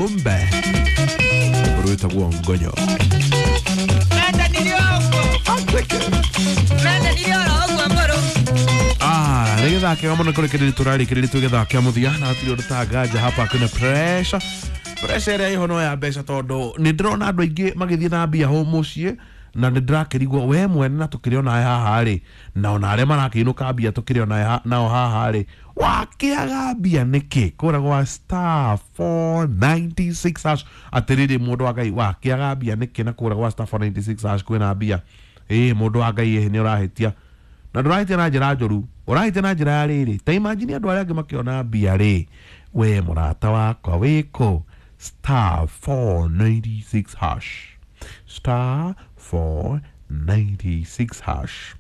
Mumbe rwĩtagwo Ngonyo. Ah, nĩ gĩthaa kĩega mũno kũrĩkĩrĩria tũrarĩkĩrĩria twĩ gĩthaa kĩa mũthia na hatirĩ ũndũ ta nganja hapa kwĩna pressure. Pressure ĩrĩa ĩho no ya mbeca tondũ nĩ ndĩrona andũ aingĩ magĩthiĩ na mbia hũ mũciĩ na nĩ ndĩrakĩrigwo we mwene na tũkĩrĩ onawe haha rĩ, na ona arĩa marakĩinũka mbia tũkĩrĩ onawe nao haha rĩ, wakĩaga mbia nĩkĩ kũrĩa gwa star 496 hash? Atĩrĩrĩ, mũndũ wa Ngai, wakĩaga mbia nĩkĩ na kũrĩa gwa star 496 hash kwĩna mbia? Ĩĩ, mũndũ wa Ngai, ĩĩ nĩ ũrahĩtia na ndũrahĩtia na njĩra njũru, ũrahĩtia na njĩra ya rĩrĩ. Ta imagine andũ arĩa angĩ makĩona mbia rĩ, we mũrata wakwa wĩkũ? Star 496 hash, star 496 hash.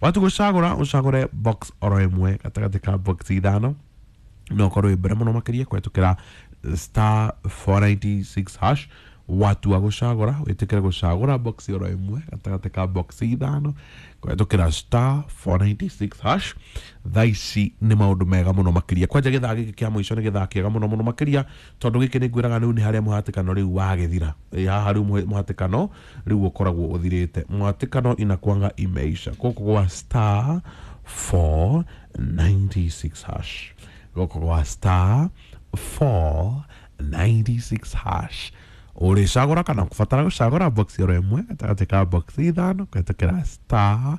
Watu gũcagũra, ũcagũre box oro ĩmwe gatagatĩ ka box ithano no ũkorwo wĩ mbere mũno makĩria kũhetũkĩra star 496 hash. Watua gũcagũra, wĩtĩkĩre gũcagũra box oro ĩmwe gatagatĩ ka box ithano kũhetũkĩra star 496 hash. Thaa ici nĩ maũndũ mega mũno makĩria. Kwanja gĩthaa gĩkĩ kĩa mũico nĩ gĩthaa kĩega mũno mũno makĩria tondũ gĩkĩ nĩ ngwĩraga rĩu nĩ harĩa mũhatĩkano rĩu wagĩthira. Ĩ, haha rĩu mũhatĩkano rĩu ũkoragwo ũthirĩte, mũhatĩkano inakwanga imeisha gũkũ gwa star 496 hash, gũkũ gwa star 496 hash. Ũrĩcagũra kana kũbatara gũcagũra box oro ĩmwe gatagatĩ ka box ithano kũhetũkĩra star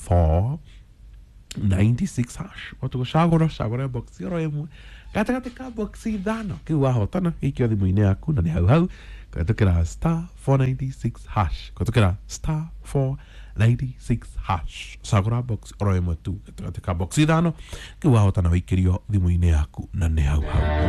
496 hash. Watu gũcagũra, cagũra box oro ĩmwe gatagatĩ ka box ithano, kĩu wahotana gĩikio thimũ-inĩ yaku na nĩ hau hau kũhetũkĩra star 496 hash, kũhetũkĩra star 496 hash. Cagũra box oro ĩmwe tu gatagatĩ ka box ithano, kĩu wahotana wĩikĩrio thimũ-inĩ yaku na nĩ hau hau.